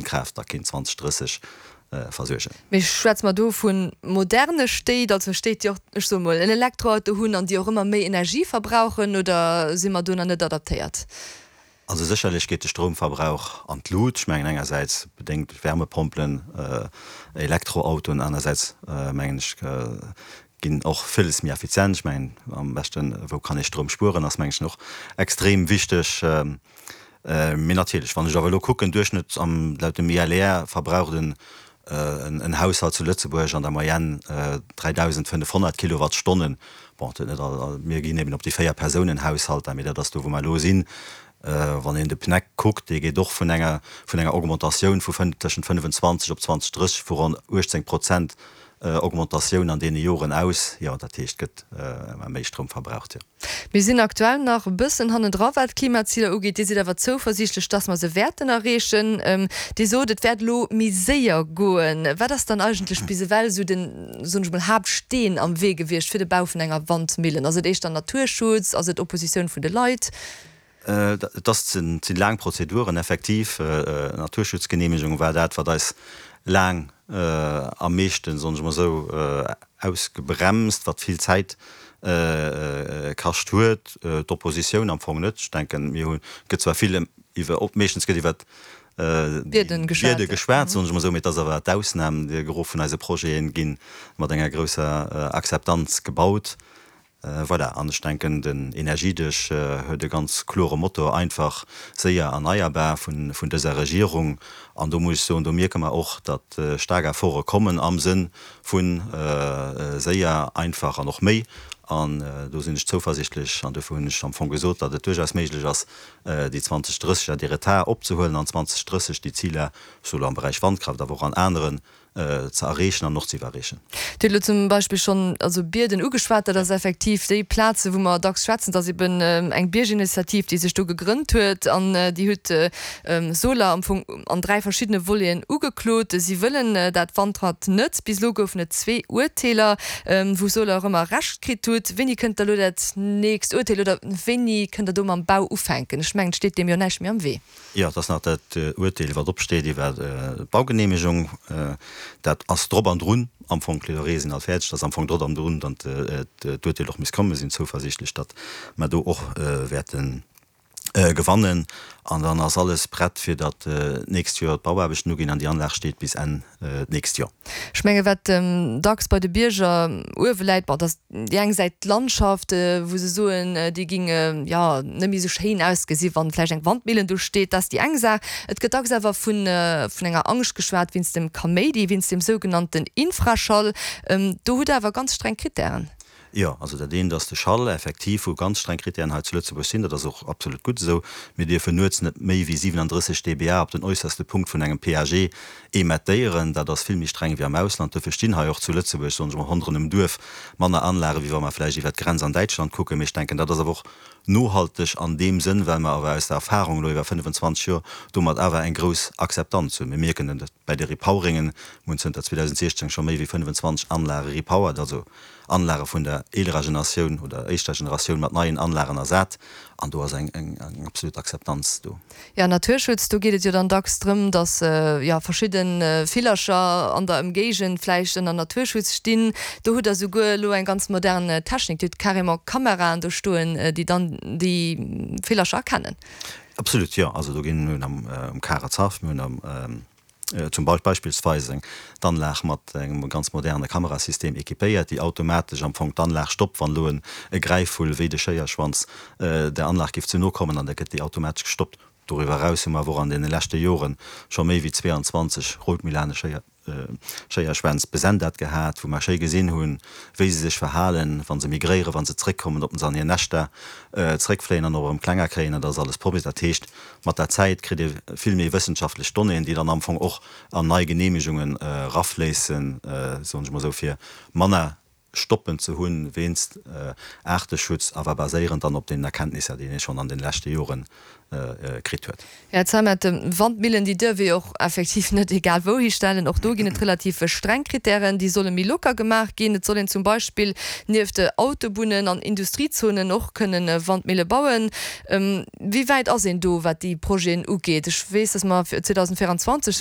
Wandkraaft da kéint 2030 versuergen. Mee schwätze mer do vu moderne Stéit, also Stéit, déi och, ech soe mol, en Elektroauto hunn an déi och ëmmer méi Energie verbrauchen, oder si mer do nach net adaptéiert? Also sécherlech geet de Stroumverbrauch an d'Lut. Ech mengen engersäits bedéngt duerch Wärmepompelen, Elektroautoen, anersäits mengen ech ginn och villes méi effizient. Ech mengen am beschten, wou kann ee Stroum spueren, ass mengen ech och extrem wichteg. Mee natierlech, wann ech awer elo kucken, Duerchschnëtt am, laut dem ILR verbraucht en en Haushalt zu Lëtzebuerg an der Moyenne 3.500 Kilowattstonnen. Bon, dat net all, mir ginn eben op déi Véier-Persounen-Haushalter, mee dat ass do, wou mer elo sinn. Wann een de PNEC kuckt, dee geet och vun enger, vun enger Augmentatioun vu tëschent 25 op 2030 vu ronn 18 Prozent Augmentatioun an deene Joren aus. Jo, dat heescht, et gëtt ëmmer méi Stroum verbraucht, jo. Mir sinn aktuell nach e bëssen hannendra wat d'Klimaziler ugeet. Dir sidd awer zouversiichtlech, dass mer se wäerten erreechen. Dir sot, et wäert elo méi séier goen. Wat ass dann eigentlech bis ewell esou den, soen ech mol, Haaptsteen am Wee gewiescht fir de Bau vun enger Wandmillen? Ass et éischter Naturschutz? Ass et Oppositioun vun de Leit? Et ass, et sinn laang Prozeduren, effektiv. Naturschutzgeneemegung war dat, wat eis laang am meeschten, soen ech mol esou, ausgebremst, wat vill Zäit kascht huet. D'Oppositioun am Fong net. Ech denken, mir hunn, et gëtt zwar vill iwwer, meeschtens gëtt iwwer d'Biede geschwat, soen ech mol esou, mee et ass awer d'Ausnam. De Gros vun eise Projete gi mat enger grousser Akzeptanz gebaut. Voilà, an ech denken, den Energiedesch huet e ganz klore Motto, einfach, séier, erneierbar vun dëser Regierung. An do muss ech soen, do mierke mer och, datt staark Efforte kommen am Sënn vu séier, einfach an och méi. An do sinn ech zouversichtlech an dofir hunn ech am Fong gesot, datt et duerchaus méiglech ass, déi 2030er, dee Retard opzehuelen an 2030 déi Ziler, souwuel am Beräich Wandkraaft, awer och an aneren, ze erreechen an och ze iwwerreechen. Dir hutt elo zum Beispill schonn also Bierden ugeschwat. Dat ass effektiv déi Plaze wou mer dacks schwätzen. Dat ass eben eng Bierginitiativ, déi sech do gegrënnt huet an déi huet Soler am Fong an 3 verschiddene Voleten ugeklot. Si wëllen dat Wandrad net. Bis elo goufen et zwee Urteeler, wou Soler och ëmmer Recht kritt hutt. Wéini kënnt da elo dat nächst Urteel oder wéini kënnt Der do mam Bau ufänken? Ech mengen, et steet deem jo näischt méi am Wee. Jo, et ass nach dat Urteel, wat opsteet iwwer d'Baugenehmegung. Dat ass drop an drun am Fong. D'Plädoyere sinn all fäerdeg. Et ass am Fong drop an drun, datt d'Urteel och misst kommen. Mir sinn zouversiichtlech, datt mer do och wäerte gewannen. An dann ass alles prett, fir datt d'nächst Joer d'Bauaarbechten uginn an déi Anlag steet bis Enn d'nächst Joer. Ech menge wat dacks bei de Bierger uewe läit, bon, dat ass déi eng Säit d'Landschaft, wou se soen, déi géing jo net méi esou schéin ausgesi wann vläicht eng Wandmillen do steet. Dat ass déi eng Saach. Et gëtt dacks awer vun vun enger Angscht geschwat wéinst dem Kaméidi, wéinst dem sougenannten Infraschall. Do hutt Der awer ganz streng Krittären. Jo, also dat eent ass de Schall, effektiv, wou ganz streng Krittären hei zu Lëtzebuerg sinn. Dat ass och absolut gutt esou. Mir dierfen nuets net méi wéi 37 dBA op den äusserste Punkt vun engem PAG emettéieren. Dat ass vill méi streng wéi am Ausland. Dofir stinn hei och zu Lëtzebuerg, soen ech mol, ronderëm em Duerf manner Anlage wéi wa mer vläicht iwwert d'Grenz an Däitschland kucken. Mee ech denken, dat ass awer och nohalteg an deem Sënn, well mer awer aus der Erfahrung elo iwwer 25 Joer domat awer eng grouss Akzeptanz hunn. Mir mierken et bäi de Repoweringen. Mir hunn zënter 2016 scho méi wéi 25 Anlage repowered, also Anlage vun der eelerer Generatioun oder éischter Generatioun mat neien Anlagen ersat an do ass eng absolut Akzeptanz do. Jo, Naturschutz, do geet et jo dann dacks drëm, datt jo verschidde Villercher an der Ëmgéigend vläicht ënner Naturschutz stinn. Do hutt Der souguer elo eng ganz modern Technik, Dir hutt carrément Kameraen do stoen, déi dann déi Villercher erkennen. Absolut, jo. Also do ginn, mir hunn am Karetzhaff, mir hunn am. Zum beispillsweis eng d'Anlag mat engem ganz moderne Kamerasystem équipéiert, déi automatesch am Fong d'Anlag stoppt, wann elo e Gräifvull wéi de Schéierschwanz der Anlag géif ze no kommen, an da gëtt déi automatesch gestoppt. Doriwwer eraus hu mer awer och an deene leschte Jore scho méi wéi 22 Routmilane Schéierschwänz besendat gehat, wou mer schéi gesinn hunn, wéi se sech verhalen, wa se migréieren, wa se zréckkommen, ob se an hir Näschter zréckfléien an och erëm klenger kréien. Dat ass alles promis. Dat heescht, Mat der Zäit kritt ee vill méi wëssenschaftlech Donnéeën, déi dann am Fong och an nei Geneemegungen erafléissen, soen ech mol esou, fir manner Stoppen ze hunn wéinst Aarteschutz, awer baséierend dann op deenen Erkenntnisser, déi ee schonn an den leschte Jore kritt huet. Här Zeimet, Wandmillen, déi duerf ee och effektiv net egal wou histellen. Och do ginn et relativ streng Krittären, déi solle méi locker gemaach ginn. Et soll een zum Beispill nieft Autobunnen an Industriezonen och kënnen Wandmille bauen. Wéi wäit ass een do, wat déi Projeten ugeet? Ech weess, datt mer 2024.